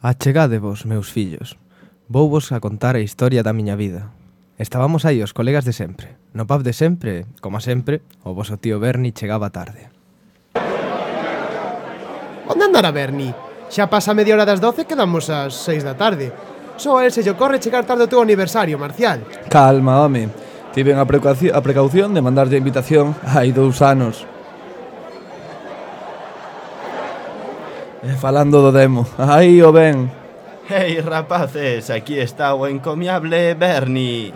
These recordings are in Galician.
Achegádevos, meus fillos. Vouvos a contar a historia da miña vida. Estábamos aí os colegas de sempre. No pub de sempre, como sempre, o voso tío Berni chegaba tarde. Onde andará Berni? Xa pasa media hora das 12 e quedamos ás 6 da tarde. Só a él se lle ocorre chegar tarde ao teu aniversario, Marcial. Calma, home. Tiven a precaución de mandarlle a invitación hai 2 anos. Falando do demo, aí o ven. Hey, rapaces, aquí está o encomiable Berni.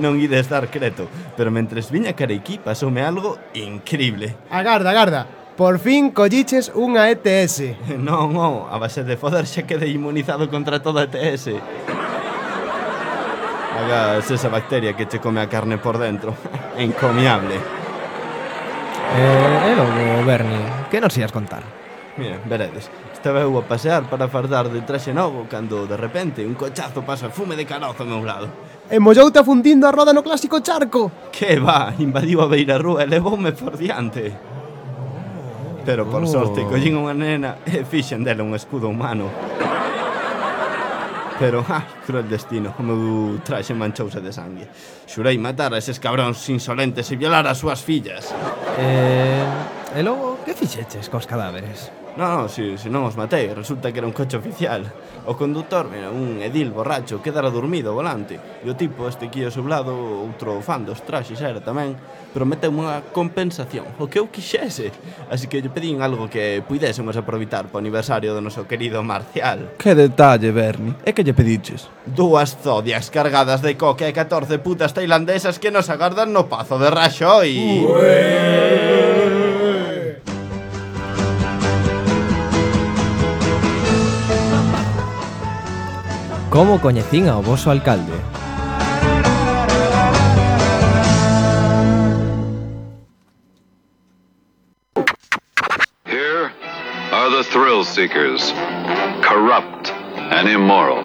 Non ides dar creto, pero mentres viña Careiquí pasoume algo increíble. Agarda. Por fin colliches unha ETS. Non, a base de foder xa quedei inmunizado contra toda ETS. Hagas esa bacteria que che come a carne por dentro. Encomiable. E logo, Berni, que nos ias contar? Mira, veredes, estaba eu a pasear para fardar de traxe novo cando, de repente, un cochazo pasa fume de carozo ao meu lado. E molloute afundindo a roda no clásico charco. Que va, invadiu a beira rúa e levoume por diante. Pero por sorte collín unha nena e fixen dela un escudo humano. Pero, cruel destino, o meu traxe manchouse de sangue. Xurei matar a eses cabróns insolentes e violar as súas fillas. E logo, que fixeches cos cadáveres? Non, si non os matei, resulta que era un coche oficial. O conductor, mira, un edil borracho, quedara dormido ao volante. E o tipo, este aquí ao seu lado, outro fan dos traxes era tamén, prometeu unha compensación, o que eu quixese. Así que lle pedín algo que puidésemos aproveitar para o aniversario do noso querido Marcial. Que detalle, Berni. E que lle pediches? 2 zodias cargadas de coca e 14 putas tailandesas que nos agardan no Pazo de Raxoi. Como coñecín ao voso alcalde? Here are the thrill seekers, corrupt and immoral.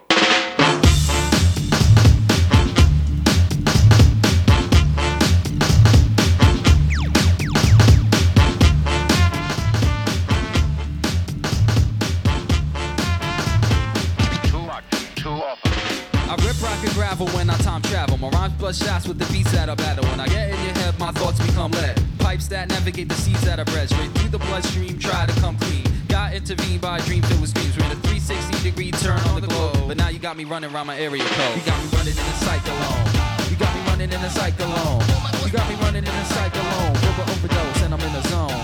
When I time travel, my rhymes bust shots with the beats that I battle. When I get in your head, my thoughts become lead. Pipes that navigate the seas that I bred. Straight through the bloodstream, try to come clean. Got intervened by a dream filled with dreams. We're in a 360-degree turn on the globe. But now you got me running around my area code. You got me running in a cyclone. You got me running in a cyclone. You got me running in a cyclone. River overdose and I'm in the zone.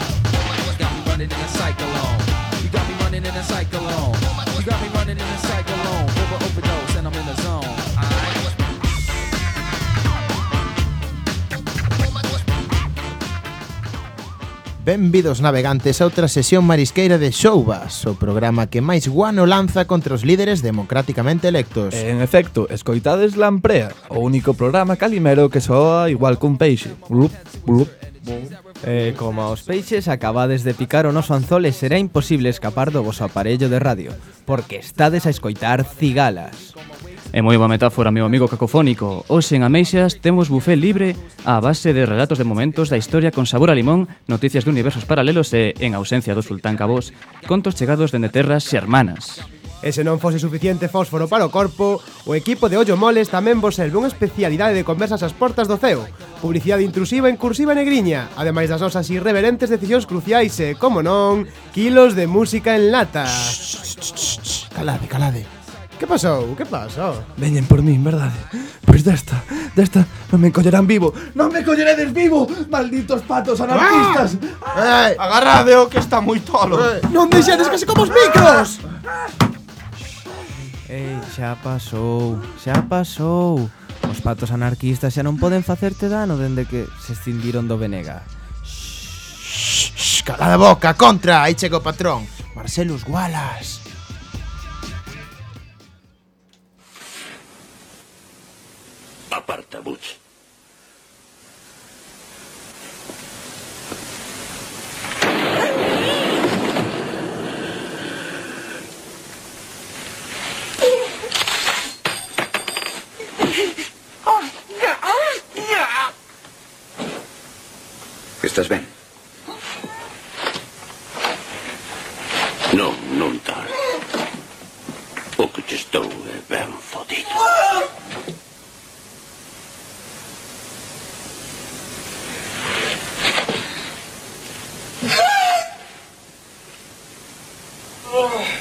You got me running in a cyclone. You got me running in a cyclone. You got me running in a cyclone. River overdose and I'm in the zone. Benvidos navegantes a outra sesión marisqueira de Xouvas, o programa que máis guano lanza contra os líderes democráticamente electos. En efecto, escoitades Lamprea, o único programa calimero que soa igual cun peixe. Blup, blup. Como aos peixes acabades de picar o noso anzol e será imposible escapar do voso aparello de radio, porque estades a escoitar Cigalas. É moi boa metáfora, meu amigo cacofónico. Hoxe en Ameixas temos buffet libre á base de relatos de momentos da historia con sabor a limón, noticias de universos paralelos e, en ausencia do sultán Cabós, contos chegados dende terras xermanas. E se non fose suficiente fósforo para o corpo, o equipo de Ollo Moles tamén vos serve unha especialidade de conversas ás portas do ceo, publicidade intrusiva en cursiva negriña, ademais das nosas irreverentes decisións cruciais e, como non, kilos de música en lata. Calade. Que pasou? Que pasou? Veñen por min, verdade? Pois desta non me encollerán vivo. Non me colleredes vivo, malditos patos anarquistas. Agarradeo que está moi tolo. Non deixedes que se como os micros. Xa pasou. Os patos anarquistas xa non poden facerte dano dende que se escindiron do Venega. Calada boca, contra, aí chega o patrón, Marcelus Wallace. Aparta, Butch. ¿Estás ben? No. O que che estou é ben fodido.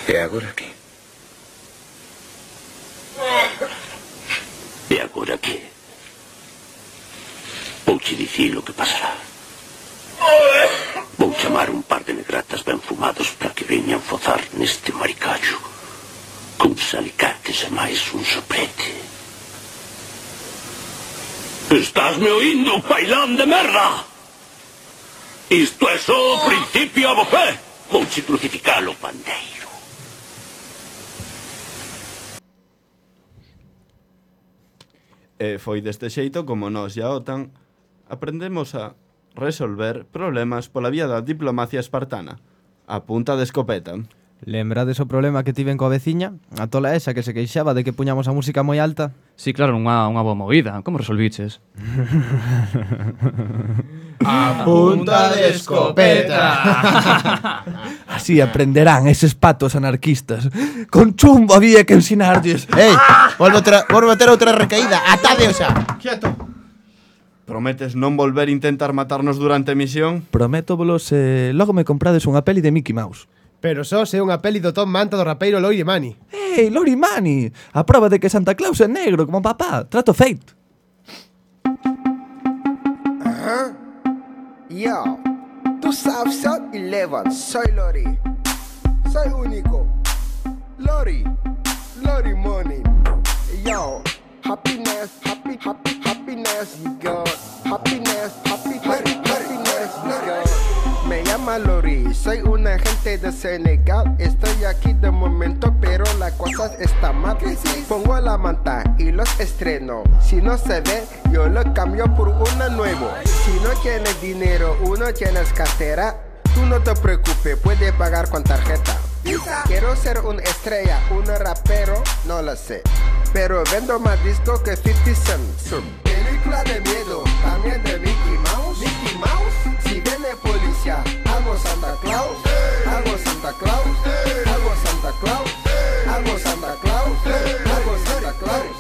E agora que? E agora que? Vouche dicir o que pasará. Vou chamar un par de negratas ben fumados para que veñan fozar neste maricallo con salicates e máis un soprete. Estásme oindo, pailán de merda? Isto é só o principio, abofé. Vouche crucificalo, pandeiro. E foi deste xeito como nós e a OTAN aprendemos a resolver problemas pola vía da diplomacia espartana, a punta de escopeta. Lembrades o problema que tiven coa veciña? A tola esa que se queixaba de que puñamos a música moi alta? Sí, claro, unha boa movida. Como resolviches? A punta de escopeta. Así aprenderán eses patos anarquistas. Con chumbo había que ensinarlles. Ei, volve a ter outra recaída. Atade xa. Quieto. Prometes non volver a intentar matarnos durante a misión? Prométovolo se logo me comprades unha peli de Mickey Mouse. Pero só se é unha peli do Tom Manta do rapeiro Lori Mani. Ei, Lori Mani, a prova de que Santa Claus é negro como papá. Trato feito. Yo, tú sabes South Eleven, soy Lori. Soy único. Lori Money. Yo, happiness, happiness, you got. Happiness, happiness, you got. Me llama Lori, soy un agente de Senegal. Estoy aquí de momento, pero la cosa está mal. Pongo la manta y los estreno. Si no se ve, yo lo cambio por una nuevo. Si no tienes dinero, uno tienes cartera, tú no te preocupes, puedes pagar con tarjeta. Quiero ser una estrella, un rapero, no lo sé, pero vendo más discos que 50 Cent. Película de miedo, también de Mickey Mouse. Mickey Mouse, si viene policía, hago Santa Claus, hago Santa Claus, hago Santa Claus, hago Santa Claus, hago Santa Claus.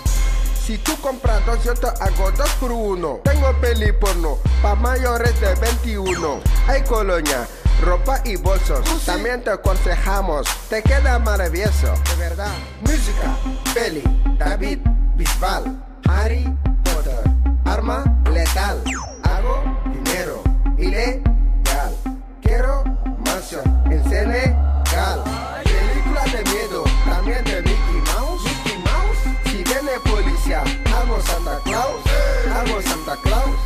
Si tú compras dos, yo te hago 2 por 1. Tengo peli porno, pa' mayores de 21. Hay colonia, ropa y bolsos. También te aconsejamos, te queda maravilloso. De verdad. Música, peli, David Bisbal, Harry Potter, arma letal. Hago dinero ilegal. Quiero mansión en Senegal. Película de miedo, también de Mickey Mouse. Mickey Mouse, si viene policía, hago Santa Claus, hago Santa Claus,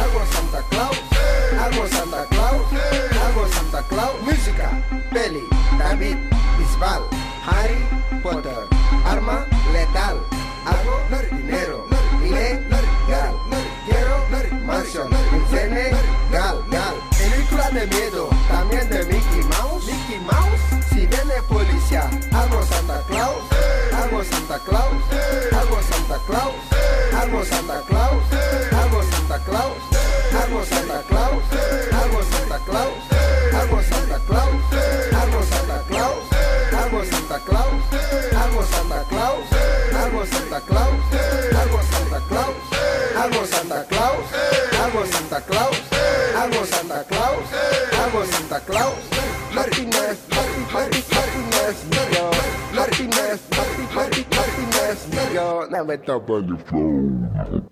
hago Santa Claus, hago Santa Claus, hago Santa Claus. Música, peli, David Bisbal, Harry Potter, arma letal. Hago dinero ilegal. Quiero mansión en Senegal. Película de miedo, también de Mickey Mouse. Mickey Mouse, si viene policía, hago Santa Claus, hago Santa Claus, hago Santa Claus, hago Santa Claus, hago Santa Claus, hago Santa Claus, hago Santa Claus, hago Santa Claus, hago Santa Claus, hago Santa Claus, hago Santa Claus, hago Santa Claus, hago Santa Claus, hago Santa Claus, hago Santa Claus, hago Santa Claus, hago Santa Claus. Happiness, happiness, yo. Happiness, happiness, yo. Never stop on the floor.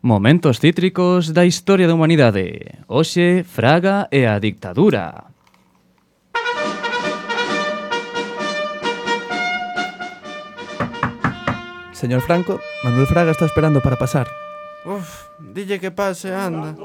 Momentos cítricos da historia da humanidade. Hoxe, Fraga e a dictadura. Señor Franco, Manuel Fraga está esperando para pasar. Uf, dille que pase, anda.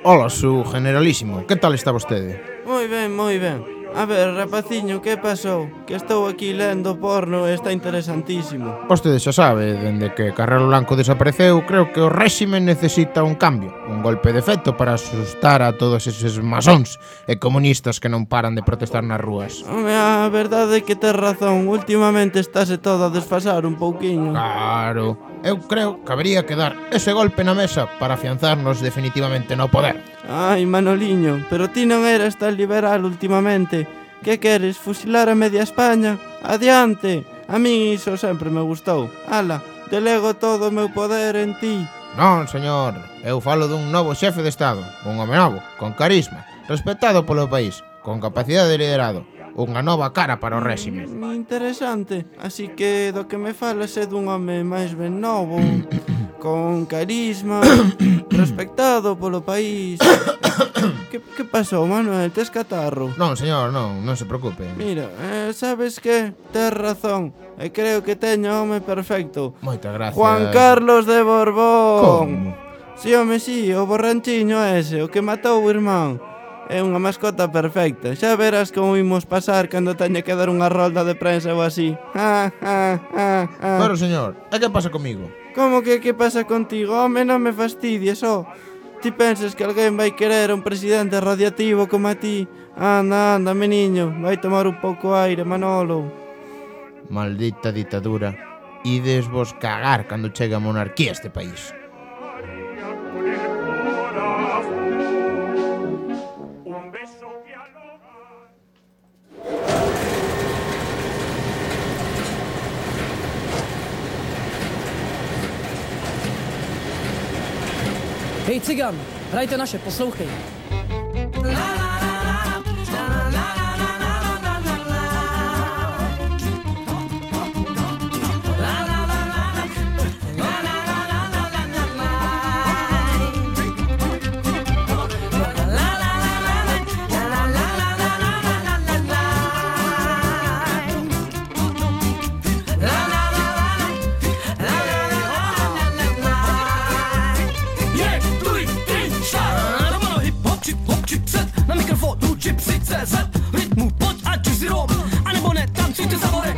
Hola, su generalísimo. Que tal está vostede? Moi ben, moi ben. A ver, rapaciño, que pasou? Que estou aquí lendo porno e está interesantísimo. Vostede xa sabe, dende que Carrero Blanco desapareceu, creo que o réxime necesita un cambio, un golpe de efecto para asustar a todos eses masóns e comunistas que non paran de protestar nas rúas. Home, a verdade é que tes razón, últimamente estáse todo a desfasar un pouquiño. Claro, eu creo que habría que dar ese golpe na mesa para afianzarnos definitivamente no poder. Ai, Manoliño, pero ti non eras tan liberal últimamente. Que queres, fusilar a media España? Adiante! A min iso sempre me gustou. Ala, delego todo o meu poder en ti. Non, señor, eu falo dun novo xefe de Estado, un home novo, con carisma, respetado polo país, con capacidade de liderado, unha nova cara para o réxime. Interesante, así que do que me falas é dun home máis ben novo, con carisma, respectado polo país. Que pasou, Manuel? Tes catarro? Non, señor, non se preocupe. Mira, sabes que? Tes razón, e creo que teño o home perfecto. Moitas gracias. Juan Carlos de Borbón. Como? Si, home, si, o borranchiño ese, o que matou o irmán. É unha mascota perfecta. Xa verás como imos pasar cando teña que dar unha rolda de prensa ou así. Pero, señor, e que pasa comigo? Como que pasa contigo? Home, non me fastidies, Ti pensas que alguén vai querer un presidente radiativo como a ti? Anda, meniño, vai tomar un pouco aire, Manolo. Maldita ditadura. Ides vos cagar cando chegue a monarquía a este país. Hej cigan, hrajte naše, poslouchej. Rytmu pojď ať už si rom, anebo ne, tancujte za vorek.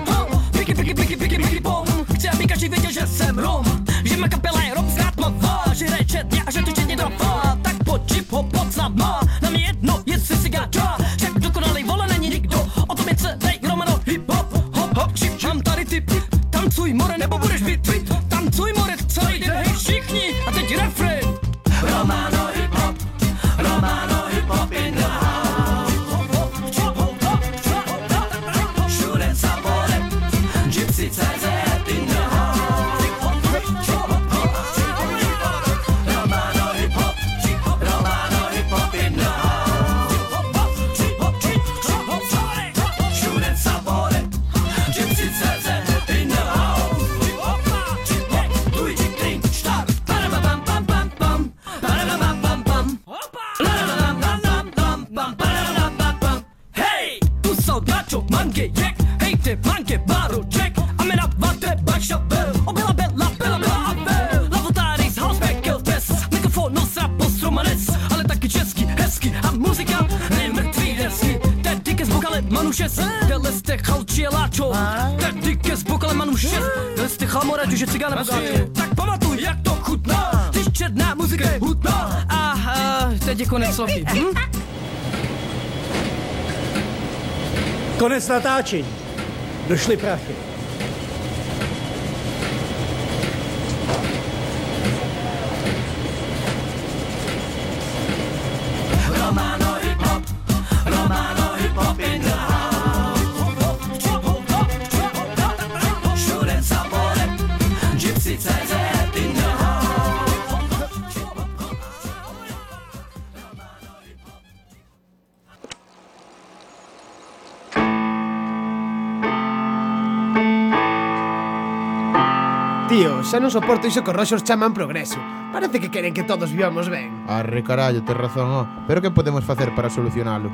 Piky pom, chci, aby každý věděl, že jsem rom. Že má kapela je rom zkrátmavá, že hraje četně a že tu četně trafá. Tak pojď hip hop pod snad má, na mě jedno, jestli si gáča. Však dokonalej vole není nikdo, o tom je celej Romano hip hop. Hop hop, čip, mám tady tip, tancuj more nebo budeš vytvit. Tancuj more celý den, hej všichni, a teď refrén. Romano hip hop, Romano hip hop in the house. Tak pamatuj, jak to chutná, když černá muzika je hutná. A teď je konec sloky. Konec natáčení. Došly prachy. Romano hip hop, Romano hip hop in the house. Všude sabore, Gypsy CZ in the house. Tío, xa non soporto iso que os roxos chaman progreso. Parece que queren que todos vivamos ben. Arre carallo, tes razón, Pero que podemos facer para solucionalo?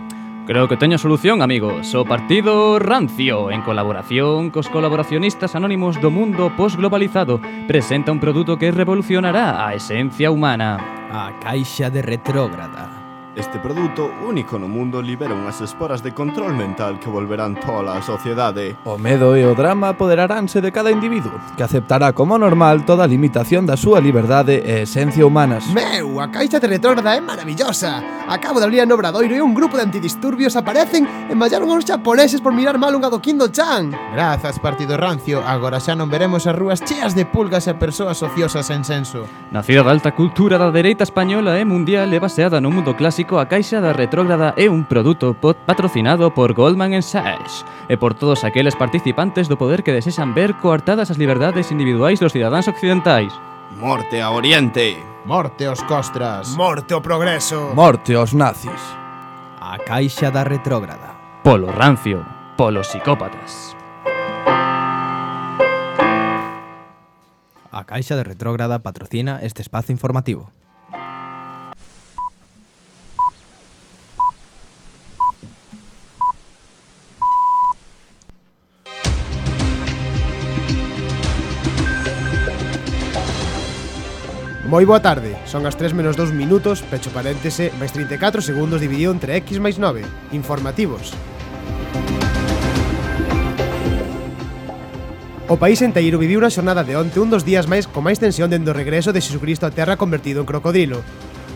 Creo que teño solución, amigos. O Partido Rancio, en colaboración cos colaboracionistas anónimos do mundo posglobalizado, presenta un produto que revolucionará a esencia humana. A caixa de retrógrada. Este produto, único no mundo, libera unhas esporas de control mental que volverán tola a sociedade. O medo e o drama apoderaránse de cada individuo, que aceptará como normal toda a limitación da súa liberdade e esencia humanas. Meu, a caixa de retrógrada é maravillosa. Acabo de abrir no Obradoiro e un grupo de antidisturbios aparecen e mallaron aos japoneses por mirar mal un Adoquindo-chan. Grazas, partido rancio, agora xa non veremos as rúas cheas de pulgas e persoas ociosas en senso. Nacida da alta cultura da dereita española e mundial e baseada no mundo clásico, a Caixa da Retrógrada é un produto patrocinado por Goldman Sachs e por todos aqueles participantes do poder que desexan ver coartadas as liberdades individuais dos cidadáns occidentais. Morte a Oriente! Morte aos costras! Morte ao progreso! Morte aos nazis! A Caixa da Retrógrada. Polo rancio, polos psicópatas. A Caixa de Retrógrada patrocina este espazo informativo. Moi boa tarde, son as 3 menos 2 minutos, pecho paréntese, máis 34 segundos dividido entre X máis 9. Informativos. O país enteiro viviu unha xornada de onte un dos días máis con máis tensión dende o regreso de Xesucristo á terra convertido en crocodilo.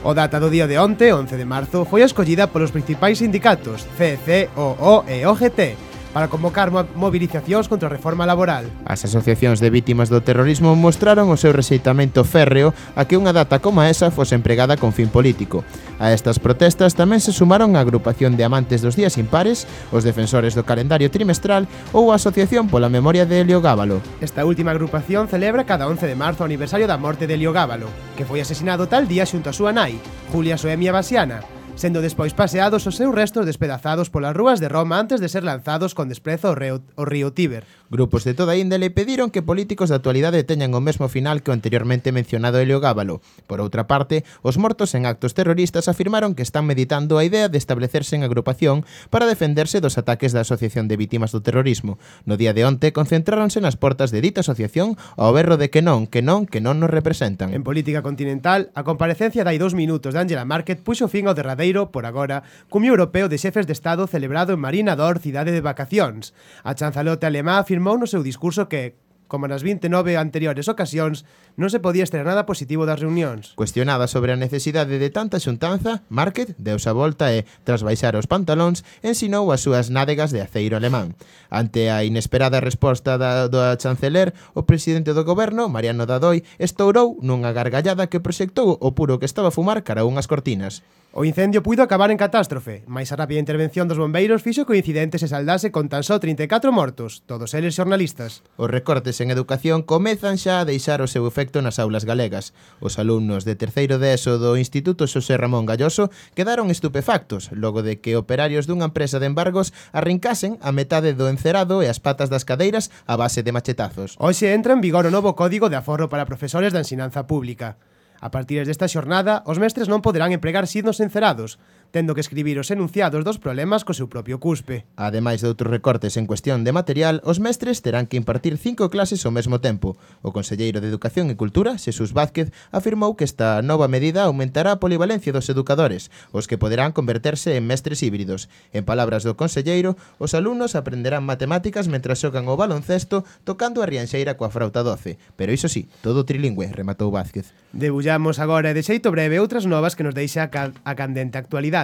O data do día de onte, 11 de marzo, foi a escollida polos principais sindicatos, CEC, OO e OGT, para convocar movilizacións contra a reforma laboral. As asociacións de vítimas do terrorismo mostraron o seu rexeitamento férreo a que unha data como esa fose empregada con fin político. A estas protestas tamén se sumaron a agrupación de amantes dos días impares, os defensores do calendario trimestral ou a Asociación pola Memoria de Helio Gábalo. Esta última agrupación celebra cada 11 de marzo o aniversario da morte de Helio Gábalo, que foi asesinado tal día xunto a súa nai, Julia Soemia Basiana, sendo despois paseados os seus restos despedazados polas rúas de Roma antes de ser lanzados con desprezo ao río Tíber. Grupos de toda índole pediron que políticos da actualidade teñan o mesmo final que o anteriormente mencionado Helio Gábalo. Por outra parte, os mortos en actos terroristas afirmaron que están meditando a idea de establecerse en agrupación para defenderse dos ataques da Asociación de Vítimas do Terrorismo. No día de onte concentráronse nas portas de dita asociación ao berro de que non nos representan. En política continental, a comparecencia de hai 2 minutos de Angela Merkel puxo fin ao derradeiro, por agora, cumio europeo de xefes de Estado celebrado en Marina d'Or, cidade de vacacións. A chanzalote alemá afirmou no seu discurso que, como nas 29 anteriores ocasións, non se podía extraer nada positivo das reunións. Cuestionada sobre a necesidade de tanta xuntanza, Market deuse a volta e, tras baixar os pantalóns, ensinou as súas nádegas de aceiro alemán. Ante a inesperada resposta do chanceler, o presidente do goberno, Mariano Rajoy, estourou nunha gargallada que proxectou o puro que estaba a fumar cara a unhas cortinas. O incendio puido acabar en catástrofe, mais a rápida intervención dos bombeiros fixo que o incidente se saldase con tan só 34 mortos, todos eles xornalistas. Os recortes en educación comezan xa a deixar o seu efecto nas aulas galegas. Os alumnos de terceiro de ESO do Instituto Xosé Ramón Galloso quedaron estupefactos logo de que operarios dunha empresa de embargos arrincasen a metade do encerado e as patas das cadeiras a base de machetazos. Hoxe entra en vigor o novo Código de Aforro para profesores da ensinanza pública. A partir desta xornada, os mestres non poderán empregar signos encerados, tendo que escribir os enunciados dos problemas co seu propio cuspe. Ademais de outros recortes en cuestión de material, os mestres terán que impartir 5 clases ao mesmo tempo. O conselleiro de Educación e Cultura, Xesús Vázquez, afirmou que esta nova medida aumentará a polivalencia dos educadores, os que poderán converterse en mestres híbridos. En palabras do conselleiro, os alumnos aprenderán matemáticas mentras xogan o baloncesto tocando a rianxeira coa frauta doce. Pero iso sí, todo trilingüe, rematou Vázquez. Debullamos agora de xeito breve outras novas que nos deixa a candente actualidade.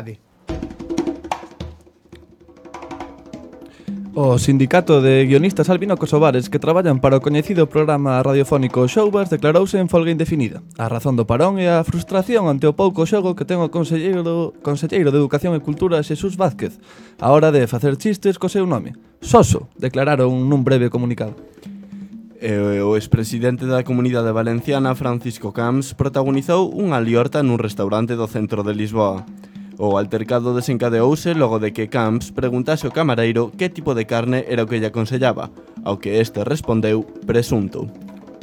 O Sindicato de Guionistas Albino Kosovares, que traballan para o coñecido programa radiofónico Showbars, declarouse en folga indefinida. A razón do parón é a frustración ante o pouco xogo que ten o conselleiro de Educación e Cultura Xesús Vázquez a hora de facer chistes co seu nome. Soso, declararon nun breve comunicado. O expresidente da Comunidade Valenciana, Francisco Camps, protagonizou unha liorta nun restaurante do centro de Lisboa. O altercado desencadeouse logo de que Camps preguntase ao camareiro que tipo de carne era o que lle aconsellaba, ao que este respondeu presunto.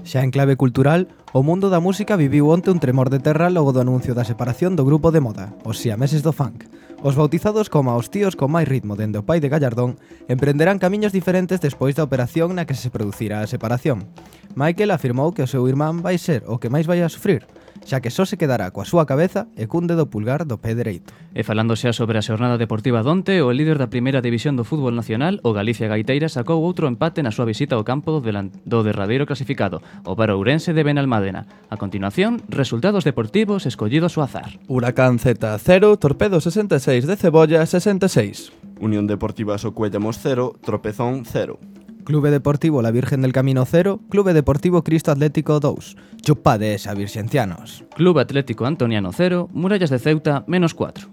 Xa en clave cultural, o mundo da música viviu onte un tremor de terra logo do anuncio da separación do grupo de moda, os siameses do funk. Os bautizados como os tíos con máis ritmo dende o pai de Gallardón emprenderán camiños diferentes despois da operación na que se producirá a separación. Michael afirmou que o seu irmán vai ser o que máis vai a sufrir. xa que só se quedará coa súa cabeza e cun dedo pulgar do pé dereito. E falando xa sobre a xornada deportiva donte, o líder da primeira división do fútbol nacional, o Galicia Gaiteira, sacou outro empate na súa visita ao campo do derradeiro clasificado, o Ourense de Benalmádena. A continuación, resultados deportivos escollidos ao azar. Huracán Z 0, Torpedo 66 de Cebolla 66. Unión Deportiva Socuellamos 0, Tropezón 0. Clube Deportivo La Virgen del Camino 0, Clube Deportivo Cristo Atlético 2. Chupades a virxencianos. Club Atlético Antoniano 0, Murallas de Ceuta -4.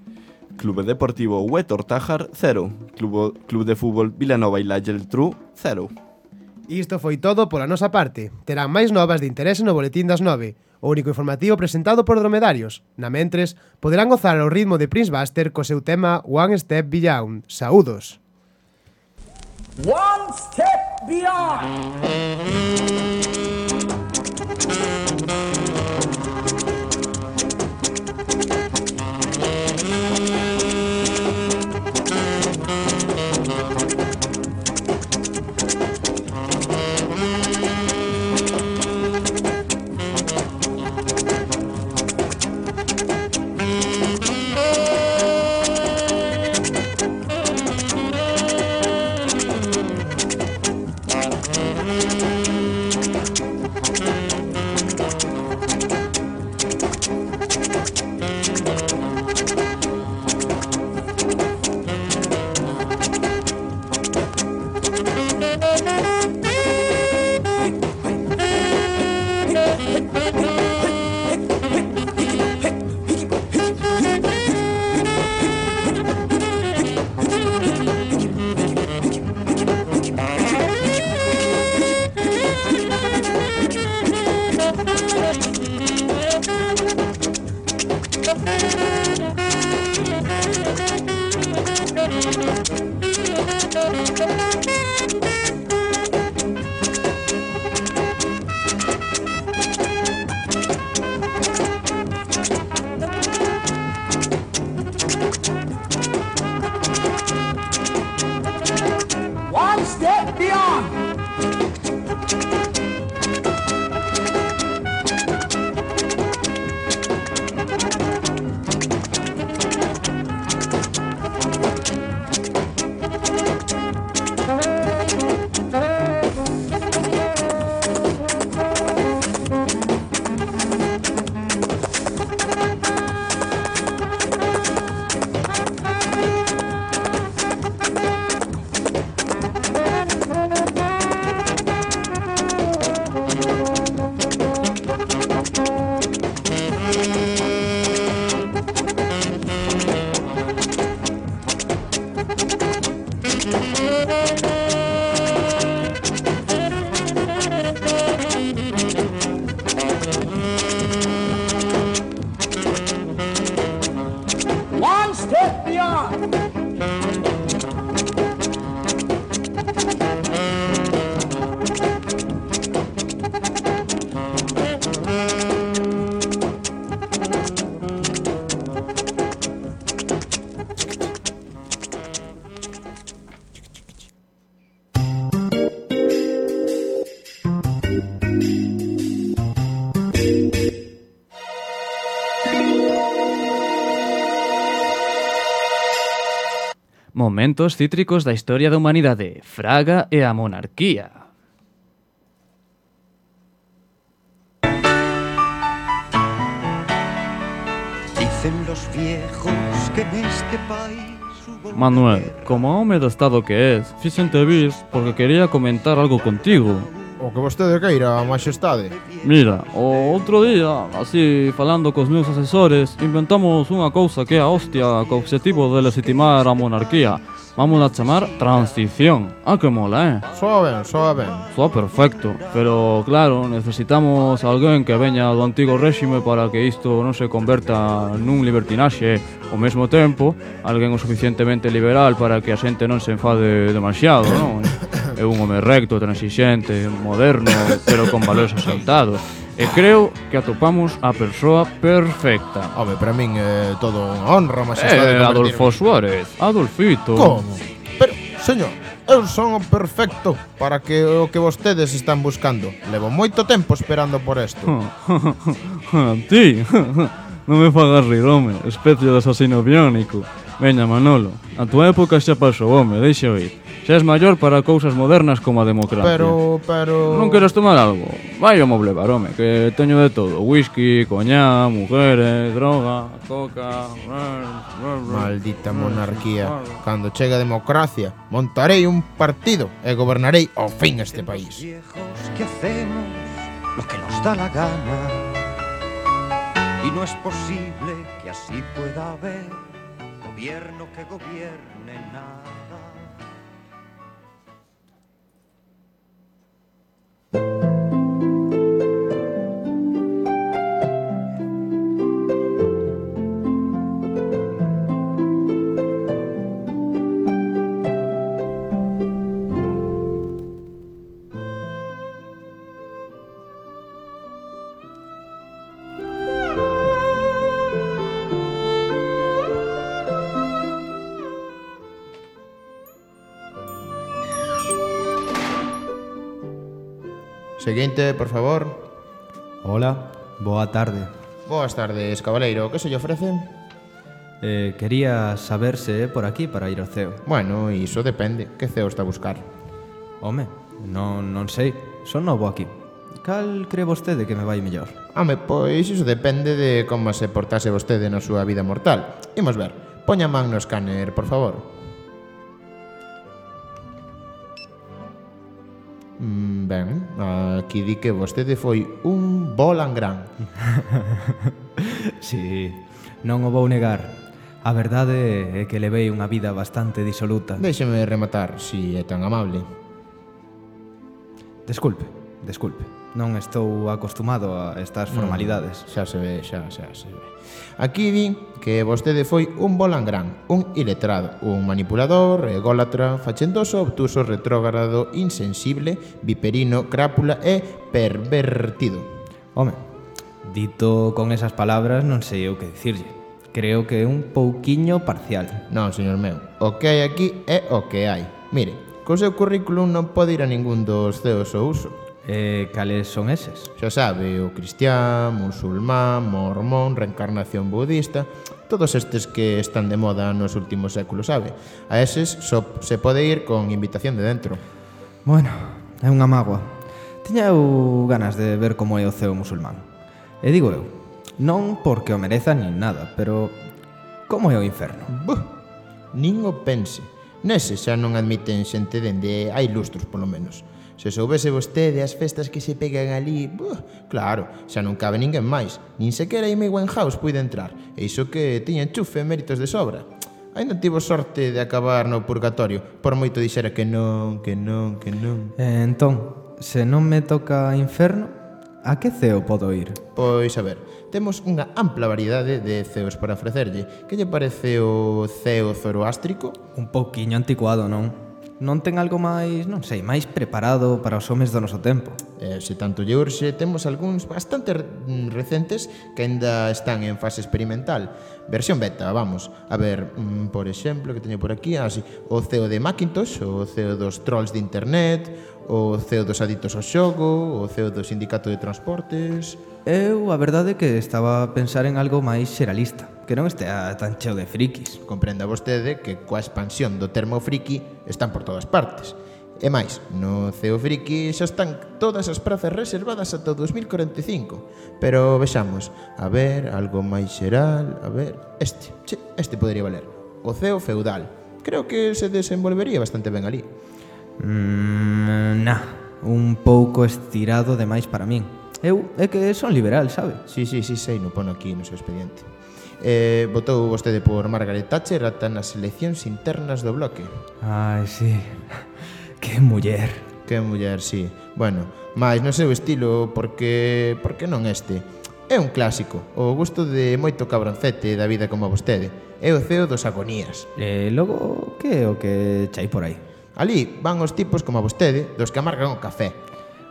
Clube Deportivo Huétor Tájar 0, Club de Fútbol Vilanova e La Geltrú 0. Isto foi todo pola nosa parte. Terán máis novas de interese no Boletín das 9, o único informativo presentado por Dromedarios. Na mentres, poderán gozar ao ritmo de Prince Buster co seu tema One Step Beyond. Saúdos. One step beyond. One step beyond. One step beyond. Momentos cítricos da historia da humanidade, Fraga e a monarquía. Dicen los viejos que en este país Manuel, como home do estado que és, fixente vir porque quería comentar algo contigo. O que vostede queira, majestade. Mira, o outro día, así falando cos meus asesores, inventamos unha cousa que é a hostia co objetivo de legitimar a monarquía. Vamos a chamar transición. Ah, que mola, Soa ben, soa ben. Soa perfecto, pero claro, necesitamos alguén que veña do antigo réxime para que isto non se converta nun libertinaxe. Ao mesmo tempo, alguén o suficientemente liberal para que a xente non se enfade demasiado, non? É un home recto, transixente, moderno, pero con valores asaltados. E creo que atopamos a persoa perfecta. Home, para min é todo unha honra, majestade. Adolfo Suárez, Adolfito. Como? Pero, señor, eu son o perfecto para que o que vostedes están buscando. Levo moito tempo esperando por isto. Ti, non me fagas rir, home, especie de asasino biónico. Veña, Manolo, a tua época xa pasou, home, deixa oír. Xa és maior para cousas modernas como a democracia. Pero... Non queres tomar algo? Vai ao Moblebar, home, que teño de todo. Whisky, coñá, mujeres, droga, coca... Maldita monarquía. Cando chegue a democracia, montarei un partido e gobernarei ao fin este país. Que hacemos lo que nos da la gana y no es posible que así pueda haber gobierno que gobierne nada. Seguinte, por favor. Hola, boa tarde. Boas tardes, cabaleiro. Que se lle ofrece? Quería saber se é por aquí para ir ao ceo. Bueno, iso depende. Que ceo está a buscar? Home, non sei. Son novo aquí. Cal cree vostede que me vai mellor? Home, pois iso depende de como se portase vostede na súa vida mortal. Imos ver. Poña man no escáner, por favor. Ben, aquí di que vostede foi un bolangrán. Si, non o vou negar. A verdade é que levei unha vida bastante disoluta. Déxeme rematar, si é tan amable. Desculpe. Non estou acostumado a estas formalidades. Xa se ve. Aquí di que vostede foi un bolangrán, un iletrado, un manipulador, ególatra, fachendoso, obtuso, retrógrado, insensible, viperino, crápula e pervertido. Home, dito con esas palabras non sei o que dicirlle. Creo que é un pouquiño parcial. Non, señor meu, o que hai aquí é o que hai. Mire, co seu currículum non pode ir a ningún dos ceos ao uso. Cales son eses? Xa sabe, o cristián, musulmán, mormón, reencarnación budista, todos estes que están de moda nos últimos séculos, sabe? A eses só se pode ir con invitación de dentro. Bueno, é unha mágoa. Tiña eu ganas de ver como é o ceo musulmán. E digo eu, non porque o mereza nin nada, pero como é o inferno? Nin o pense. Nese xa non admiten xente dende hai lustros, polo menos. Se soubese vostede as festas que se pegan ali, claro, xa non cabe ninguén máis. Nin sequera Amy Winehouse puide entrar. E iso que tiña enchufe e méritos de sobra. Ainda tivo sorte de acabar no purgatorio, por moito dixera que non. Entón, se non me toca inferno, a que ceo podo ir? Pois a ver, temos unha ampla variedade de ceos para ofrecerlle. Que lle parece o ceo zoroástrico? Un pouquiño anticuado, non? Non ten algo máis, non sei, máis preparado para os homes do noso tempo? Se tanto lle urxe, temos algúns bastante recentes que aínda están en fase experimental. Versión beta, vamos. A ver, por exemplo, que teño por aquí, así, o ceo de Macintosh, o ceo dos trolls de internet, o ceo dos adictos ao xogo, o ceo do sindicato de transportes... Eu, a verdade, que estaba a pensar en algo máis xeralista, que non estea tan cheo de frikis. Comprenda vostede que coa expansión do termo friki están por todas partes. E máis, no ceo friki xa están todas as prazas reservadas ata o 2045. Pero vexamos, a ver, algo máis xeral, a ver... Este podría valer. O ceo feudal. Creo que se desenvolvería bastante ben ali. Un pouco estirado demais para min. Eu é que son liberal, sabe? Sí, sei, no pono aquí no seu expediente. Votou vostede por Margaret Thatcher ata nas eleccións internas do bloque. Ai, sí. Que muller. Que muller, sí. Bueno, máis no seu estilo, porque non este. É un clásico, o gusto de moito cabroncete da vida como a vostede. É o ceo dos agonías. E logo, que é o que chai por aí? Ali van os tipos como a vostede, dos que amargan o café.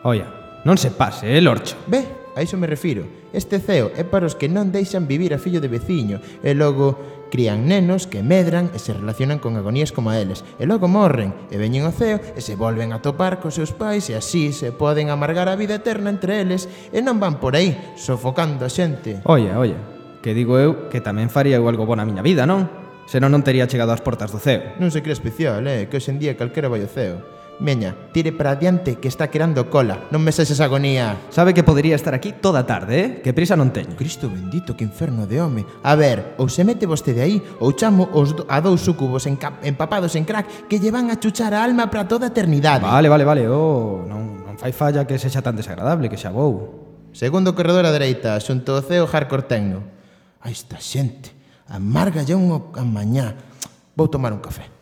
Oia, non se pase, Lorcho. Ve, A iso me refiro. Este ceo é para os que non deixan vivir a fillo de veciño e logo crían nenos que medran e se relacionan con agonías como a eles e logo morren e veñen ao ceo e se volven a topar cos seus pais e así se poden amargar a vida eterna entre eles e non van por aí sofocando a xente. Oye, que digo eu que tamén faría eu algo bo na miña vida, non? Senón non tería chegado ás portas do ceo. Non se cree especial, que hoxe en día calquera vai ao ceo. Meña, tire para adiante que está querando cola. Non me sexes agonía. Sabe que podería estar aquí toda a tarde, Que prisa non teño. Cristo bendito, que inferno de home. A ver, ou se mete vostede aí, ou chamo a dous súcubos empapados en crack que lle van a chuchar a alma para toda a eternidade. Vale, non fai falla que sexa tan desagradable, que xa vou. Segundo corredor á dereita, xunto ao ceo hardcore tecno. Ai, esta xente, amarga ya un mañá. Vou tomar un café.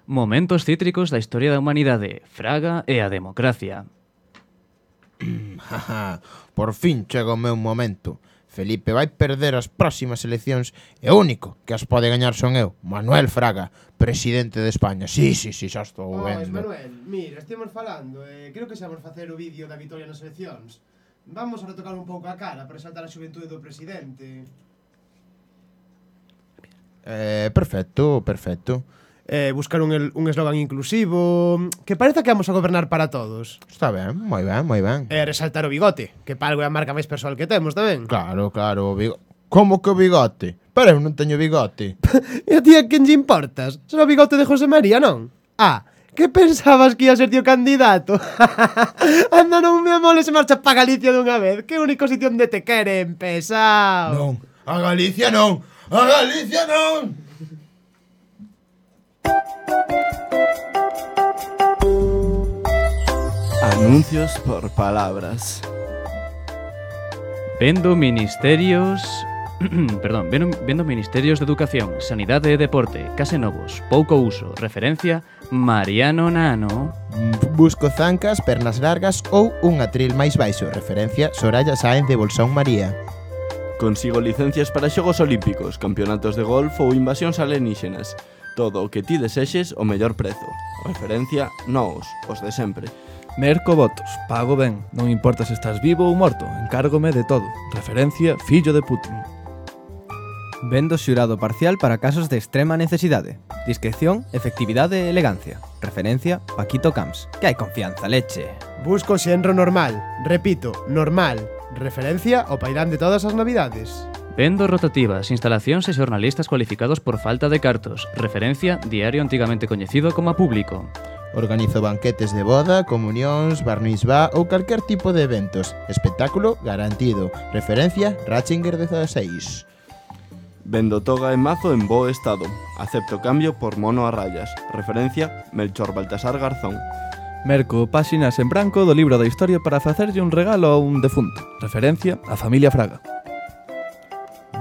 Momentos cítricos da historia da humanidade, Fraga e a democracia. Por fin chega o meu momento. Felipe vai perder as próximas eleccións e o único que as pode gañar son eu, Manuel Fraga, presidente de España. Sí, xa estou vendo. Manuel, mira, estemos falando creo que xa vamos facer o vídeo da vitoria nas eleccións. Vamos a retocar un pouco a cara para exaltar a xuventude do presidente. Perfecto. Buscar un eslogan inclusivo, que pareza que vamos a gobernar para todos. Está ben, moi ben. Resaltar o bigote, que para algo é a marca máis persoal que temos tamén. Claro, o bigote. Como que o bigote? Pero eu non teño bigote. E a ti a quen lle importas? Será o bigote de José María, non? Que pensabas que ia ser tío candidato? Anda, non me amoles e marcha pa Galicia dunha vez. Que único sitio onde te queren, pesado. Non, a Galicia non. Anuncios por palabras. Vendo ministerios... Vendo ministerios de educación, sanidade e deporte, case novos, pouco uso, referencia Mariano Nano. Busco zancas, pernas largas ou un atril máis baixo, referencia Soraya Sáenz de Bolsón María. Consigo licencias para Xogos Olímpicos, campeonatos de golf ou invasións alienígenas. Todo o que ti desexes o mellor prezo. Referencia Noos, os de sempre. Merco votos, pago ben, non importa se estás vivo ou morto, encárgome de todo. Referencia fillo de Putin. Vendo xurado parcial para casos de extrema necesidade. Discreción, efectividade e elegancia. Referencia Paquito Camps. Que hai confianza, leche. Busco xenro normal. Repito, normal. Referencia ao pairán de todas as navidades. Vendo rotativas, instalacións e xornalistas cualificados por falta de cartos. Referencia diario antigamente coñecido como Público. Organizo banquetes de boda, comunións, bar mitzvah ou calquer tipo de eventos. Espectáculo garantido. Referencia Ratzinger 16. Vendo toga e mazo en bo estado. Acepto cambio por mono a rayas. Referencia Melchor Baltasar Garzón. Merco páxinas en branco do libro da historia para facerlle un regalo a un defunto. Referencia a familia Fraga.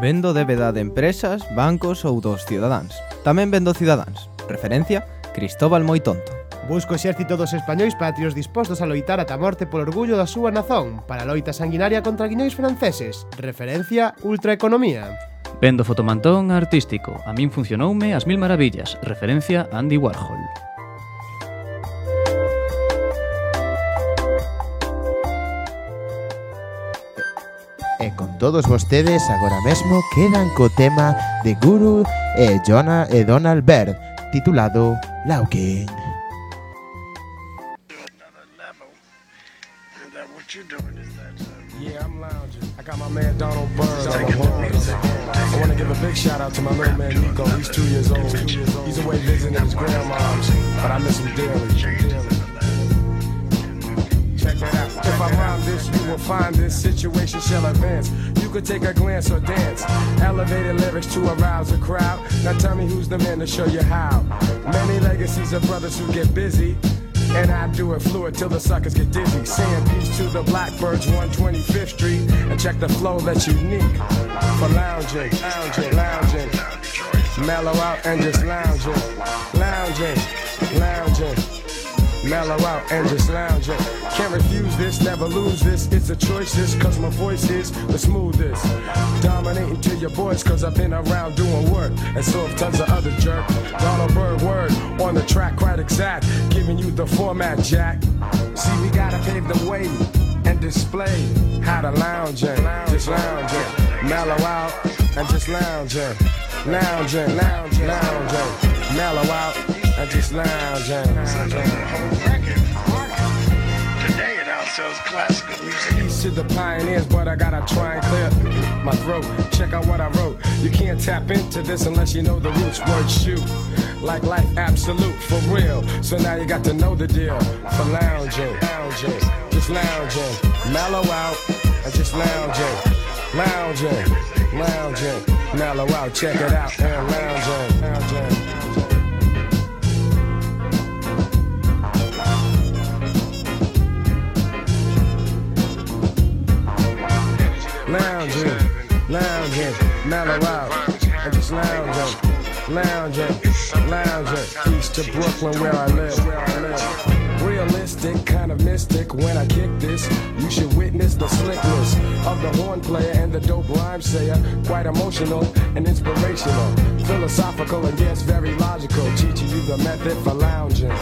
Vendo débeda de empresas, bancos ou dos cidadáns. Tamén vendo cidadáns. Referencia Cristóbal Moi Tonto. Busco exército dos españois patrios dispostos a loitar ata a morte polo orgullo da súa nazón, para a loita sanguinaria contra guiñois franceses. Referencia Ultraeconomía. Vendo fotomantón artístico. A min funcionoume as mil maravillas. Referencia Andy Warhol. E con todos vostedes agora mesmo quedan co tema de Guru e Donald Byrd, titulado Laukin. Yeah, I'm lounging. I got my man Donald Byrd on the horns. I want to give a big shout out to my little man Nico. He's 2 years old. He's away visiting his grandma's, but I miss him dearly. Check that out. If I rhyme this, you will find this situation shall advance. You could take a glance or dance. Elevated lyrics to arouse a crowd. Now tell me who's the man to show you how. Many legacies of brothers who get busy. And I do it fluid till the suckers get dizzy. Saying peace to the Blackbirds, 125th Street. And check the flow that's unique for lounging, mellow out and just lounging, mellow out and just lounging. Can't refuse this, never lose this. It's a choice, this, cause my voice is the smoothest. Dominating to your boys, cause I've been around doing work. And so have tons of other jerk. Donald Byrd word on the track, quite exact. Giving you the format, Jack. See, we gotta pave the way and display how to lounging, just lounging, mellow out and just lounging, mellow out and just lounging. Today it outsells classical music. Peace to the pioneers, but I gotta try and clear my throat. Check out what I wrote. You can't tap into this unless you know the roots. Word shoot, like life absolute, for real. So now you got to know the deal. For lounging, just lounging, mellow out and just lounging, mellow out. Check it out and lounging. Lounging, mellow out, and just lounging. Lounging east to Brooklyn where I live. Realistic, kind of mystic. When I kick this, you should witness the slickness of the horn player and the dope rhyme sayer. Quite emotional and inspirational, philosophical and yes, very logical. Teaching you the method for lounging.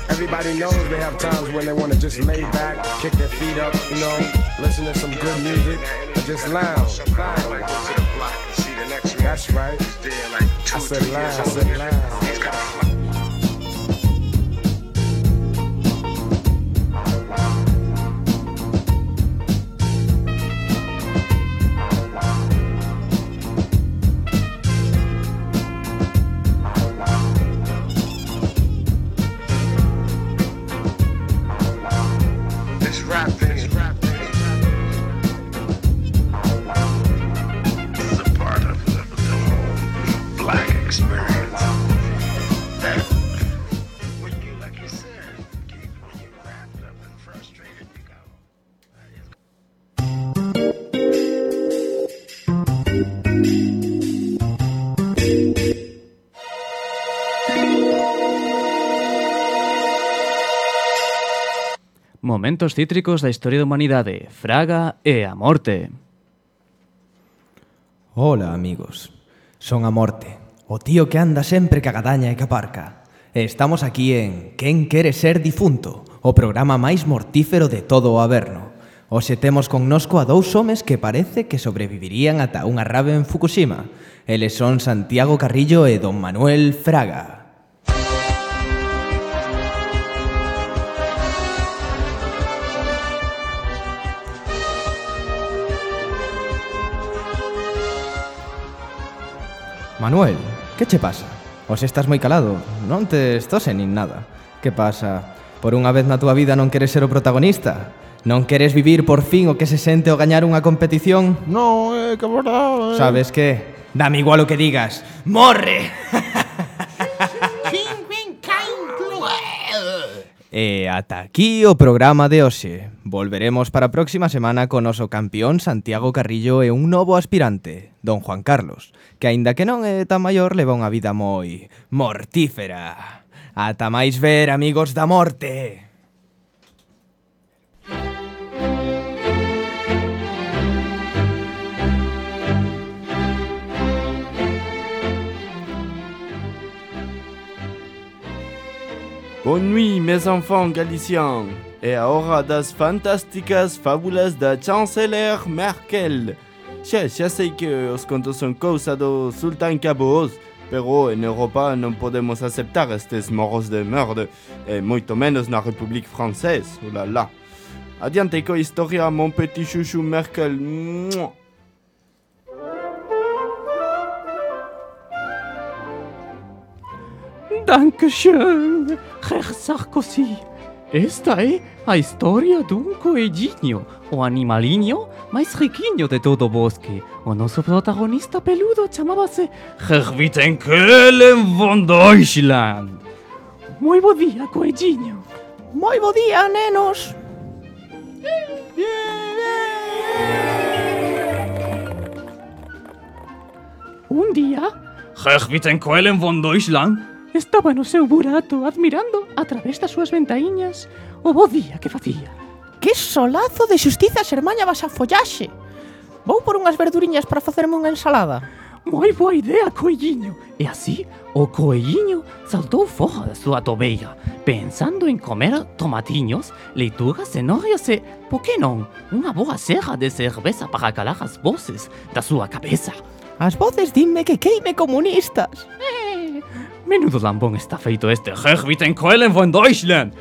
Everybody knows they have times when they want to just lay back, kick their feet up, you know, listen to some good music, and just lounge. That's right. I said lounge. Momentos cítricos da historia da humanidade, Fraga e a morte. Hola, amigos. Son a morte, o tío que anda sempre que agadaña e que aparca. E estamos aquí en Quen quere ser difunto, o programa máis mortífero de todo o Averno. Hoxe temos connosco a dous homes que parece que sobrevivirían ata unha rave en Fukushima. Eles son Santiago Carrillo e Don Manuel Fraga. Manuel, que che pasa? Hoxe estás moi calado, non te tose nin nada. Que pasa? Por unha vez na túa vida non queres ser o protagonista? Non queres vivir por fin o que se sente ao gañar unha competición? No, que verdade. Sabes que? Dame igual o que digas. Morre! E ata aquí o programa de hoxe. Volveremos para a próxima semana con o noso campeón Santiago Carrillo e un novo aspirante, Don Juan Carlos, que aínda que non é tan maior leva unha vida moi mortífera. Ata máis ver, amigos da morte. Bonne nuit, mes enfants galiciens. E a hora das fantásticas fábulas da chanceler Merkel. Xa sei que os contos son cousa do Sultán Caboos, pero en Europa non podemos aceptar estes morros de merda, e moito menos na República Francesa, olala. Adiante coa historia, mon petit chouchou Merkel. Dankeschön, Herr Sarkozy. Esta é a historia dun coelliño, o animaliño máis riquiño de todo o bosque. O noso protagonista peludo chamábase Herr Kellen von Deutschland. Moi bo día, coelliño. Moi bo día, nenos. Un día, Herr Kellen von Deutschland estaba no seu burato admirando a través das súas ventaíñas o bo día que facía. Que solazo de xustiza xermaña vas a follaxe. Vou por unhas verduriñas para facerme unha ensalada. Moi boa idea, coelliño. E así, o coelliño saltou fora da súa tobeira, pensando en comer tomatiños, leitugas, cenorias e, por que non, unha boa serra de cerveza para calar as voces da súa cabeza. As voces dinme que queime comunistas. Menudo lambón está feito este Herr Kellen von Deutschland.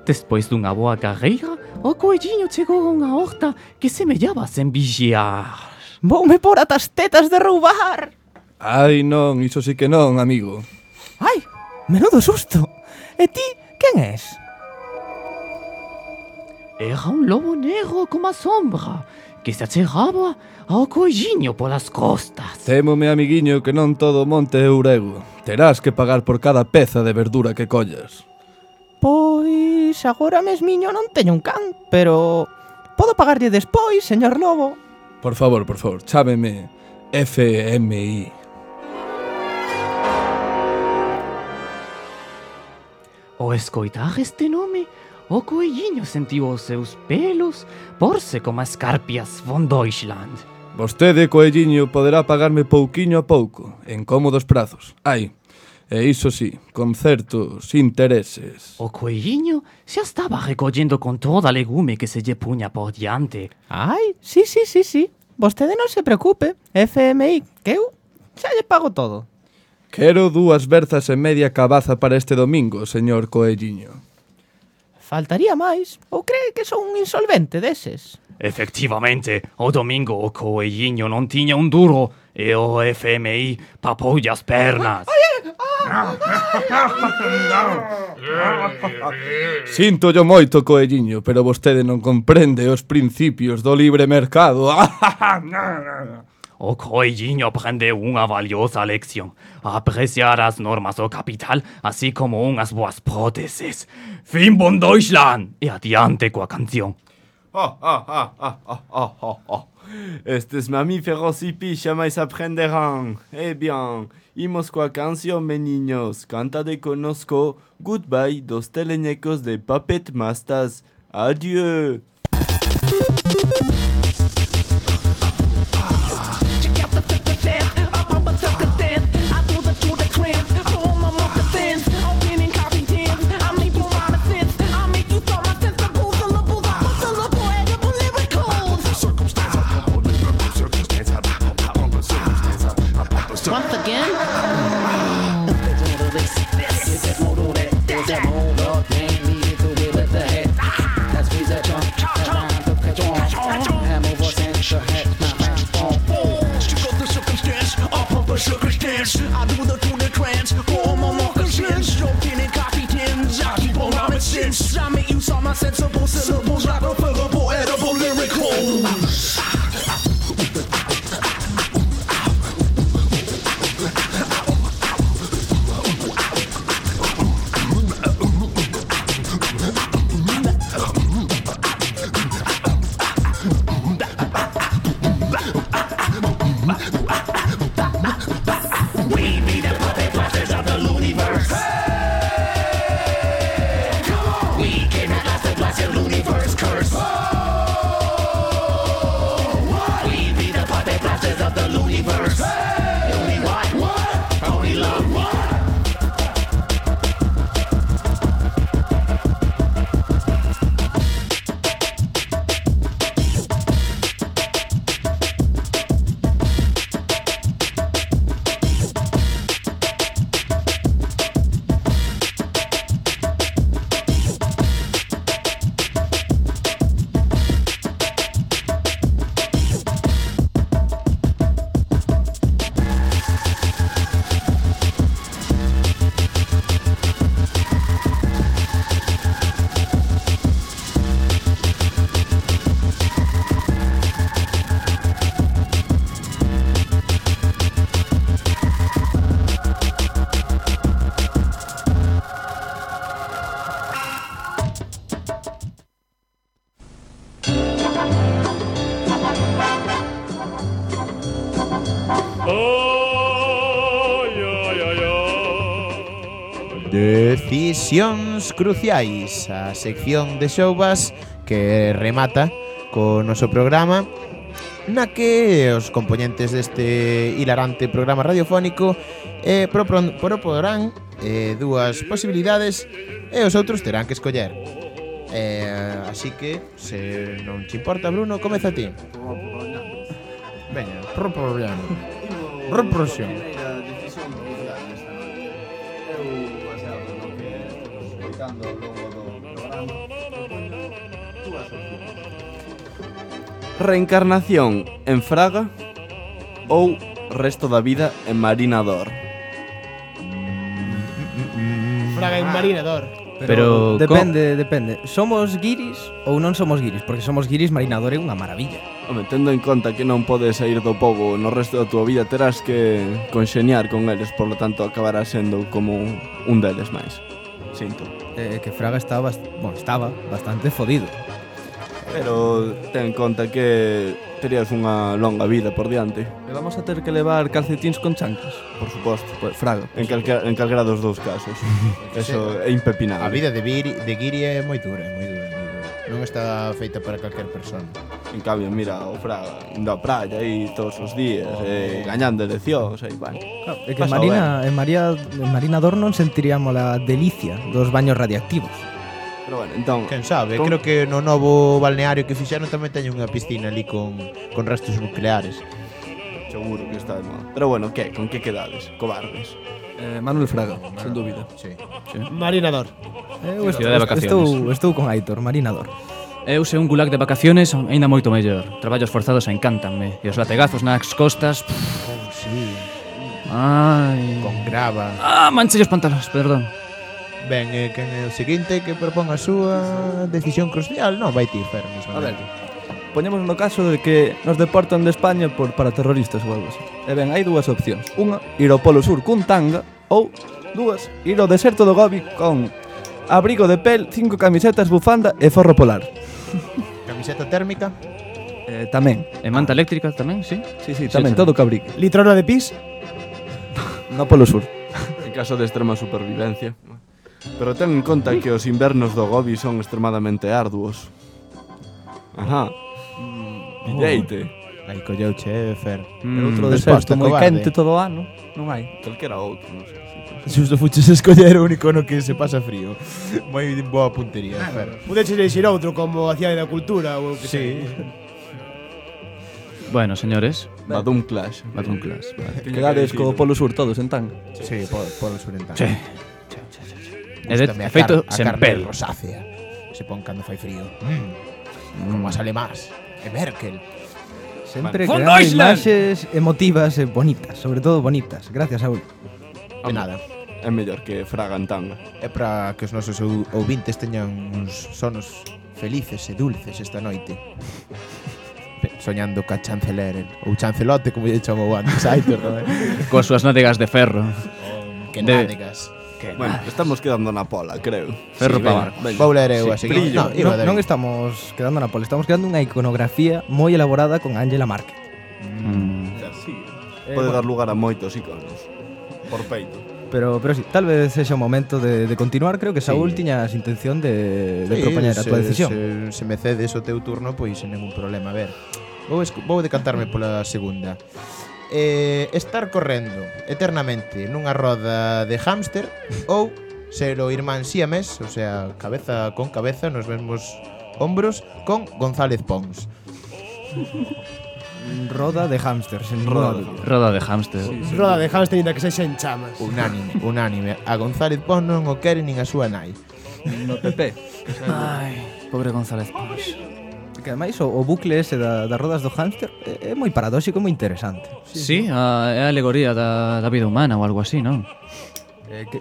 Despois dunha boa carreira, o coelliño chegou a unha horta que semellaba sen vixiar. Voume por atas tetas de roubar. Ai, non, iso sí que non, amigo. Ai, menudo susto. E ti, quen és? Era un lobo negro como a sombra que se achegaba ao coelliño polas costas. Témome, amiguiño, que non todo monte é ourego. Terás que pagar por cada peza de verdura que collas. Pois agora mesmiño non teño un can, pero podo pagarlle despois, señor lobo. Por favor, chámeme FMI. Ao escoitar este nome, o coelliño sentiu os seus pelos porse como escarpias von Deutschland. Vostede, coelliño, poderá pagarme pouquiño a pouco, en cómodos prazos. Ai, e iso sí, con certos intereses. O coelliño xa estaba recollendo con toda a legume que se lle puña por diante. Ai, sí. Vostede non se preocupe, FMI, que eu xa lle pago todo. Quero 2 berzas e media cabaza para este domingo, señor coelliño. Faltaría máis, ou cree que son un insolvente deses? Efectivamente, o domingo o coelliño non tiña un duro e o FMI papoulle as pernas. Síntolle moito, coelliño, pero vostede non comprende os principios do libre mercado. O coelliño aprendeu unha valiosa lección, a apreciar as normas do capital, así como unhas boas próteses. Fin von Deutschland! E adiante coa canción. Estes mamíferos hippies jamais aprenderán. Eh bien, imos coa canción, meniños. Canta de conosco Goodbye dos teleñecos de Puppet Masters. Adieu. Once again? I do the tune trance for my moccasins, joking in coffee tins. I keep on rhyming since I make use of my sensible syllables like a fillable, edible lyricals. Decisións cruciais, a sección de Showbas que remata co noso programa, na que os componentes deste hilarante programa radiofónico proporán dúas posibilidades e os outros terán que escoller. Así que, se non te importa, Bruno, comeza ti. Veña, proporán. Represión. Reencarnación en Fraga ou resto da vida en Marinador? Fraga en Marinador. Pero depende. Somos guiris ou non somos guiris? Porque somos guiris, Marinador é unha maravilla. Home, tendo en conta que non podes sair do pobo no resto da túa vida, terás que conxeniar con eles, por lo tanto acabarás sendo como un deles máis. Sinto. Que Fraga estaba bastante fodido. Pero ten en conta que terías unha longa vida por diante. E vamos a ter que levar calcetins con chanclas. Por suposto. Pues fraga. En calquera dos dous casos. Eso é impepinable. A vida de guiri é moi dura, moi dura. Non está feita para calquer persona. En cambio, mira, o Fraga indo á praia aí todos os días, gañando eleccións, aí, bueno. É que en Marina Dor non sentiríamos a delicia dos baños radiactivos. Pero bueno, entón... Quen sabe, creo que no novo balneario que fixeron tamén teñen unha piscina ali con restos nucleares. Seguro que está de moda. Pero bueno, que? Con que quedades? Cobardes. Manuel Fraga, sen dúbida. Sí. Marina Dor. Cidade de vacaciones. Estou con Aitor, Marina Dor. Eu sei un gulag de vacaciones aínda moito mellor. Traballos forzados encántanme. E os lategazos nas costas... Sí. Ai... Con grava. Manchei os pantalóns, perdón. Ben, que o seguinte que propón a súa decisión crucial non vai ti, Fer, mismo. A ver, poñemos no caso de que nos deportan de España por paraterroristas ou algo así. E ben, hai dúas opcións. Unha, ir ao Polo Sur cun tanga, ou dúas, ir ao deserto do Gobi con abrigo de pel, 5 camisetas, bufanda e forro polar. Camiseta térmica? Tamén. E manta eléctrica tamén, sí? Sí, tamén, todo que abrigue. Litrona de pis? No Polo Sur. En caso de extrema supervivencia. Pero ten en conta que os invernos do Gobi son extremadamente arduos. Ajá. Pilleite. Aí colleuche, Fer. Outro deserto moi quente todo o ano. Non hai. Calquera outro, non sei. Xusto fuches a escoller o único no que se pasa frío. Moi boa puntería, Fer. Pudeches elegir outro como a Cidade da Cultura ou que sí. Bueno, señores. Badum Clash. Quedades co Polo Sur todos en tanga. Sí, Polo Sur en tanga. Sí. E de feito, sen pel. Rosácea. Se pon cando fai frío. Como as alemás. E Merkel. Sempre creando imaxes emotivas e bonitas, sobre todo bonitas. Gracias, Saúl. De nada. É mellor que Fraga en tanga. É para que os nosos ouvintes teñan uns sonos felices e dulces esta noite. Soñando ca chanceler ou chancelote, como lle chamou antes, Aitor, non é? Coas súas nádegas de ferro. Que nádegas. Bueno, estamos quedando na pola, creo. Ferro para barco. Vou ler eu a seguir. Non estamos quedando na pola, estamos quedando unha iconografía moi elaborada con Angela Merkel. Pode dar lugar a moitos iconos. Por peito. Pero sí, tal vez sexa o momento de continuar. Creo que Saúl tiñas intención de propoñer a tua decisión. Se me cedes o teu turno, pois sen ningún problema. A ver, vou decantarme pola segunda. Estar correndo eternamente nunha roda de hámster ou ser o irmán siamés, o sea, cabeza con cabeza nos mesmos hombros con González Pons. Roda de hámster, sen ninguna dúbida. Roda de hámster. Roda de hámster ainda que sexa en chamas. Unánime. A González Pons non o quere nin a súa nai. No PP. Ai, pobre González Pons. Que ademais o bucle ese das rodas do hámster é moi paradóxico e moi interesante. Sí, é a alegoría da vida humana ou algo así, non?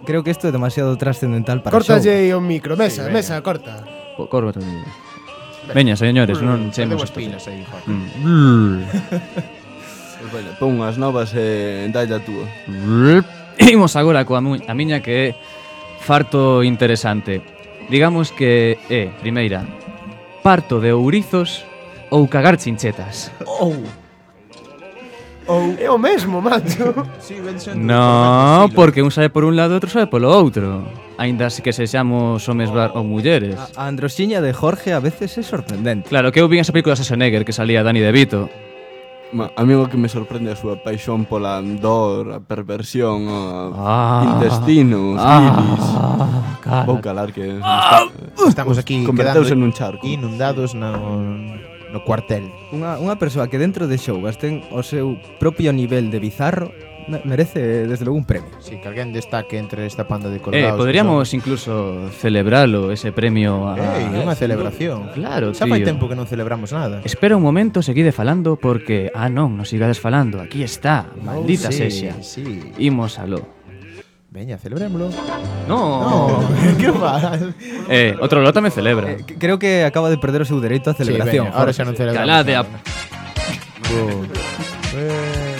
Creo que isto é demasiado trascendental para Cortalle o micro, mesa, corta. Corta. Veña, señores, non chemos as pilas aí, joder. Bueno, pon unhas novas e dalle a túa. Imos agora coa miña que é farto interesante. Digamos que é, primeira, parto de ourizos ou cagar chinchetas. É o mesmo, macho. No, porque un sabe por un lado e outro sabe polo outro. Ainda que sexamos homes ou mulleres. A androxiña de Jorge a veces é sorprendente. Claro, que eu vi esa película de Schwarzenegger que salía Danny DeVito. A mí o que me sorprende a súa paixón pola dor, a perversión, intestinos, iris. Vou calar que estamos aquí converteuse nun charco. Inundados no cuartel. Unha persoa que dentro de Showgas ten o seu propio nivel de bizarro merece desde logo un premio. Sí, que alguén destaque entre esta panda de colgados. Podríamos incluso celebralo, ese premio unha celebración. Claro, xa fai tempo que non celebramos nada. Espera un momento, seguide falando porque non sigades falando. Aquí está, maldita sexa. Sí. Imos aló. Veña, celebrémolo. No. Que faz? Outro lo tamén celebra. Creo que acaba de perder o seu dereito á celebración. Sí, ahora xa non celebramos. Calade a...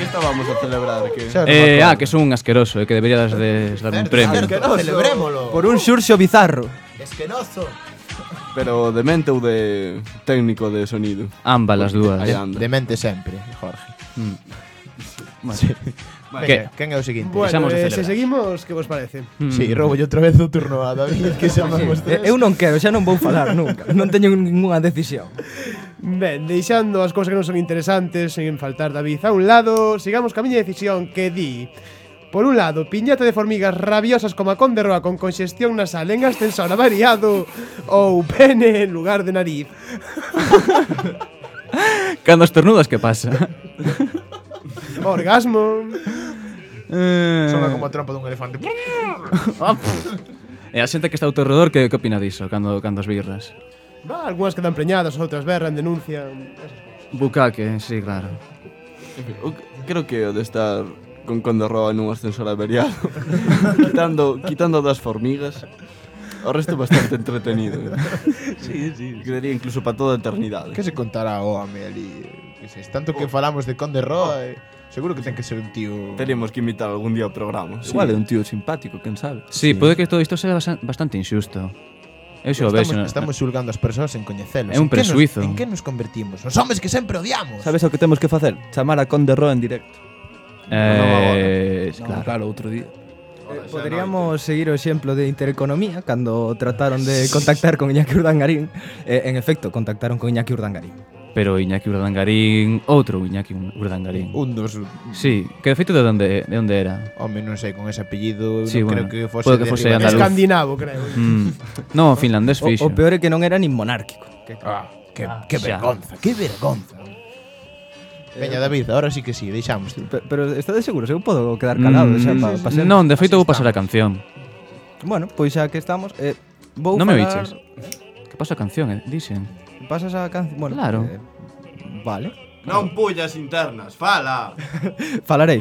Que estábamos a celebrar? Que son un asqueroso, que deberías de dar un premio. Celebrémolo. Por un xurxo bizarro. Esquenoso. Pero de mente ou de técnico de sonido? Ambas as dúas. De mente sempre, Jorge. Bueno. Sí. Que? Quen é o seguinte? Bueno, se seguimos, que vos parece? Sí, roubo outra vez o turno a David, que xa vamos tres. Eu non quero, xa non vou falar nunca. Non teño ninguna decisión. Ben, deixando as cousas que non son interesantes, sen faltar David a un lado, sigamos ca miña decisión que di: por un lado, piñata de formigas rabiosas como a Conde Roa con congestión nasal en ascensor avariado, ou pene en lugar de nariz. Cando estornudas, que pasa? Orgasmo. Sona como a trompa dun elefante. E a xente que está ao teu redor, que opina diso cando as birras? Algúnas quedan preñadas, outras berran, denuncian. Bucaque, sí, claro. Creo que o de estar con Conde Roa nun ascensor averiado quitando das formigas, o resto bastante entretenido. Sí. Quedaría incluso para toda a eternidade. Que se contará o home ali? Tanto que falamos de Conde Roa, seguro que ten que ser un tío... Teríamos que invitar algún día ao programa. Sí. Igual é un tío simpático, quen sabe. Sí, pode que todo isto sea bastante injusto. Eu xo vexo. Estamos xulgando as persoas en coñecelos. É un presuizo. En que nos convertimos? Nos homes que sempre odiamos. Sabes o que temos que facer? Chamar a Conde Roa en directo. Claro, outro día. Poderíamos seguir o exemplo de Intereconomía cando trataron de contactar con Iñaki Urdangarín. En efecto, contactaron con Iñaki Urdangarín. Pero Iñaki Urdangarín, outro Iñaki Urdangarín. Un dos... Sí, que de feito de onde era? Home, non sei, con ese apellido sí, non bueno, creo que fose pode que fose andaluz. Escandinavo, creo. No, finlandés fixo. O peor é que non era nin monárquico. Que vergonza, que vergonza. Veña, David, ahora sí que sí, deixamos. Pero estades seguros? Eu podo quedar calado xa pa ser... Non, de feito vou pasar a canción. Bueno, pois xa que estamos, vou non falar... me biches. Que pasa a canción, dixen. Pasas a canción... Bueno, claro. Vale. Non pullas internas, fala. Falarei.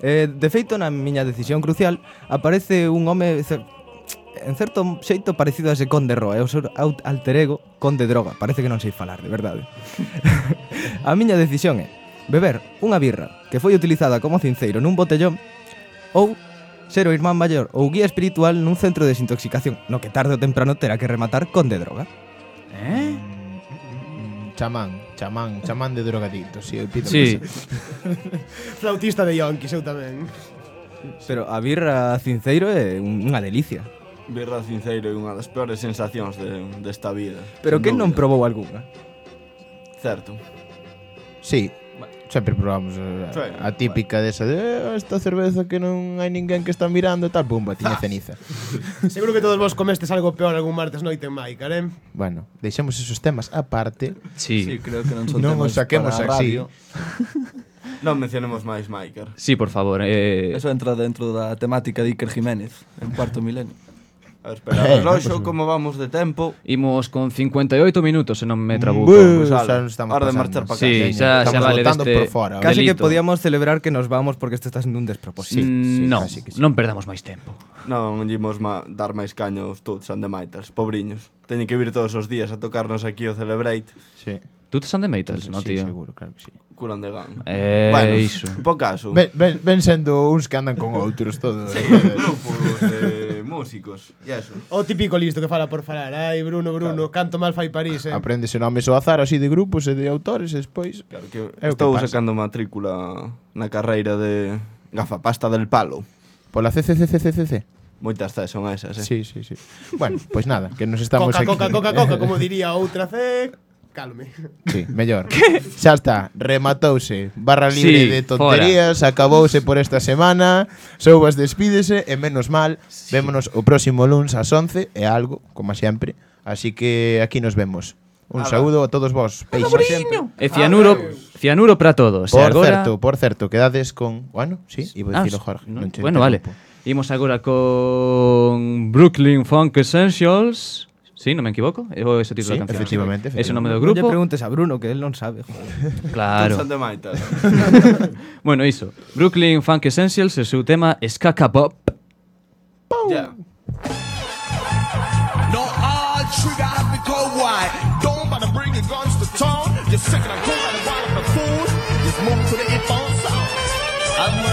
De feito, na miña decisión crucial aparece un home en certo xeito parecido a ese Conde Roa, é o seu alter ego Conde Droga. Parece que non sei falar, de verdade. A miña decisión é beber unha birra que foi utilizada como cinceiro nun botellón ou ser o irmán maior ou guía espiritual nun centro de desintoxicación, no que tarde ou temprano terá que rematar Conde Droga. Chamán de drogadicto, si, eu pido. Sí. Flautista de yonkis, eu tamén. Pero a birra cinceiro é unha delicia. Birra cinceiro é unha das peores sensacións desta vida. Pero quen non probou algunha? Certo. Sí, sempre probamos a típica desa de esta cerveza que non hai ninguén que está mirando e tal, pumba, tiña ceniza. Seguro que todos vos comestes algo peor algún martes noite en Maicar, Bueno, deixemos esos temas aparte. Sí, creo que non son non temas os saquemos para a así. radio. Non mencionemos máis Maicar. Sí, por favor. Eso entra dentro da temática de Iker Jiménez en cuarto milenio. A ver, espera, reloxo, como vamos de tempo? Imos con 58 minutos, se non me trabuco. Pues hora de marchar para casa. Sí, xa vale deste Casi que podíamos celebrar que nos vamos porque isto está sendo un despropósito. No, non perdamos máis tempo. Non imos dar máis caños todos and the Mitals, pobriños. Teñen que vir todos os días a tocarnos aquí o Celebrate. Sí. Tú tes and the Mitals, no, tío? Sí, seguro, claro que sí. Curan de gan. Bueno, iso. Po caso. Ven sendo uns que andan con outros todo. Sí, grupos de músicos. E eso. O típico listo que fala por falar. Ai, Bruno, canto mal fai París, Apréndese nomes ao azar así de grupos e de autores e despois... Claro que estou sacando matrícula na carreira de gafapasta del palo. Pola CCCCCC. Moitas Cs son esas, Sí. Bueno, pois nada, que nos estamos aquí. Coca, como diría outra C... Calme. Sí, mellor. Xa está, rematouse. Barra libre de tonterías, acabouse por esta semana. Soubas despídese e menos mal, vémonos o próximo luns ás 11 e algo, como sempre. Así que aquí nos vemos. Un saúdo a todos vos, peixes. E cianuro para todos. Por certo, quedades con... Bueno, sí, iba a dicilo Jorge. Bueno, vale. Imos agora con Brooklyn Funk Essentials. Sí, non me equivoco? É ese título da canción. Efectivamente. Ese nome do grupo. Non lle preguntes a Bruno, que él non sabe. Claro. Maitas. Bueno, iso. Brooklyn Funk Essentials, o seu tema Skaka Pop. Yeah. No hard trigger, I become wide. Don't bother bringing guns to town. You're second, I go out and wild up the food. Just move to the hip-hop sound. I'm